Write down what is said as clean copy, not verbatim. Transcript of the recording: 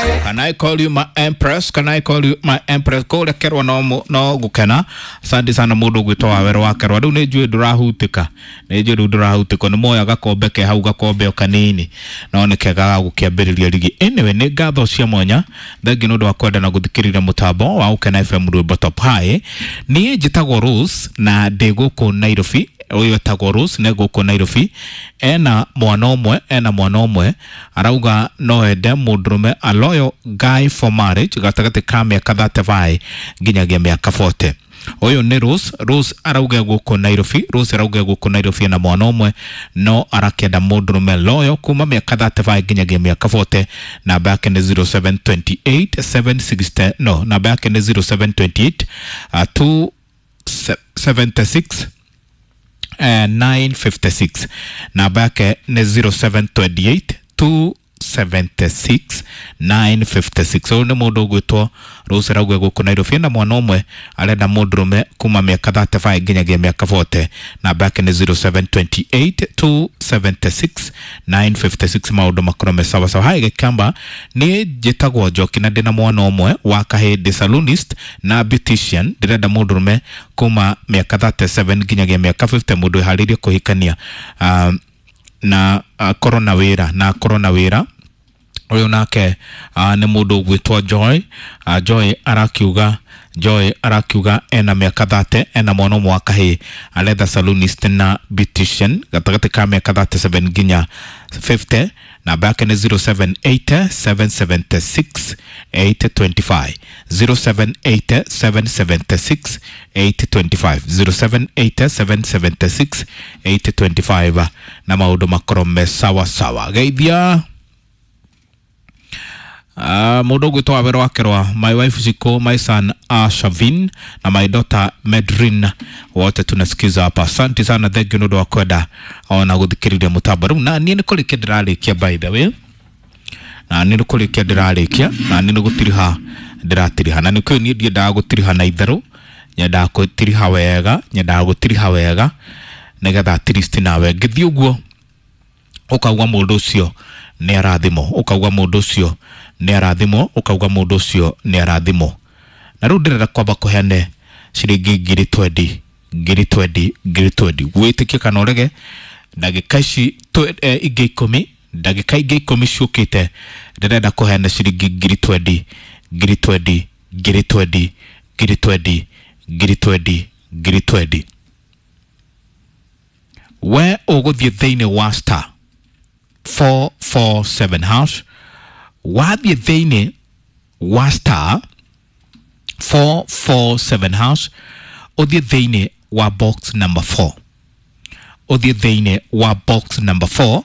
Can I call you my empress? Can I call you my empress? Kũrĩa Kerwa no gũkena. Asante sana mũndũ ũgwĩtwo Wawerũ wa Kerwa. Rĩu nĩ njũĩ ndũrahutika, nĩ njũĩ rĩu ndũrahutika. Nĩ moya gakombe ke hau, gakombe o kanini, no nĩ kega ga gũkĩambĩrĩria rigi. Anyway, nĩ ngatho cia mwanya, thengi nĩ ũndũ wa kwenda na gũthikĩrĩria mũtambo wa Gũkena FM rwĩmbo top high. Niĩ njĩtagwo Rose na ndĩ gũkũ Nairobi. Ũyũ etagwo Rose nĩ gũkũ Nairobi, ena mwana ũmwe, ena mwana ũmwe. Arauga no ende mũndũrũme, a loyal guy for marriage, gatagatĩ ka mĩaka 35 nginyagia mĩaka 40. Ũyũ nĩ Rose. Rose arauga gũkũ Nairobi. Rose arauga gũkũ Nairobi ena mwana ũmwe, no arakĩenda mũndũrũme loyal kuma mĩaka 35 nginyagia mĩaka 40. Namba yake nĩ 0728 760, no, namba yake nĩ 0728 276 956. Namba yake nĩ 0728 276 956. Ũyũ nĩ mũndũ ũgwĩtwo Rose, arauga gũkũ Nairobi na mwana ũmwe, arenda mũndũrũme kuma mĩaka 35 nginyagia mĩaka 40. Namba yake nĩ 0728 276 956. Maũndũ makorwo me sawa sawa. Hai Gĩkamba, niĩ njĩtagwo Njoki na ndĩna mwana ũmwe wa kahĩĩ, ndĩ salonist na beautician. Ndĩrenda mũndũrũme kuma mĩaka 37 nginyagia mĩaka 50, mũndũ wĩharĩirie kũhikania na akorwo na wĩra, na akorwo na wĩra. Ũyũ nake nĩ mũndũ ũgwĩtwo Joy. Joy arakiuga, Joy arakiuga ena mĩaka 30, ena mwana ũmwe wa kahĩĩ, aretha salonist na beautician gatagatĩ ka mĩaka 37 nginya 50. Namba yake nĩ 078 776 825, 078 776 825, 078 776 825, na maũndũ makorwo me sawa sawa. Geithia mũndũ ũgwĩtwo Wawerũ wa Kerwa, my wife Ziko, my son Shavin na my daughter Medrin, wote tunasikiza hapa. Asante sana, thank you nĩ ũndũ wa kwenda ona gũthikĩrĩria mũtambo. Rĩu na niĩ nĩ kũrĩkia ndĩrarĩkia, by the way, na niĩ nĩ kũrĩkia ndĩrarĩkia, na niĩ nĩ gũtiriha ndĩratiriha, na nĩkĩo niĩ ndiendaga gũtiriha na itherũ, nyendaga gũtiriha wega, nyendaga gũtiriha wega nĩgetha at least nawe ngĩthiĩ ũguo ũkauga mũndũ ũcio nĩ arathimwo, ũkauga mũndũ ũcio nĩ arathimwo, ũkauga mũndũ ũcio nĩ arathimwo. Na rĩu ndĩrenda kwamba kũheane ciringi 20,000, 20,000, 20,000. Wĩtĩkie kana ũrege, ndagĩka ici ingĩ 10, ndagĩka ingĩ 10 ciũkĩte, ndĩrenda kũheana ciringi 20,000, 20,000, 20,000, 20,000, 20,000, 20,000. We ũgũthiĩ thĩinĩ wa star 447 hash. Wathiĩ thĩinĩ wa star 447 hash, ũthiĩ thĩinĩ wa box number 4, ũthiĩ thĩinĩ wa box number 4.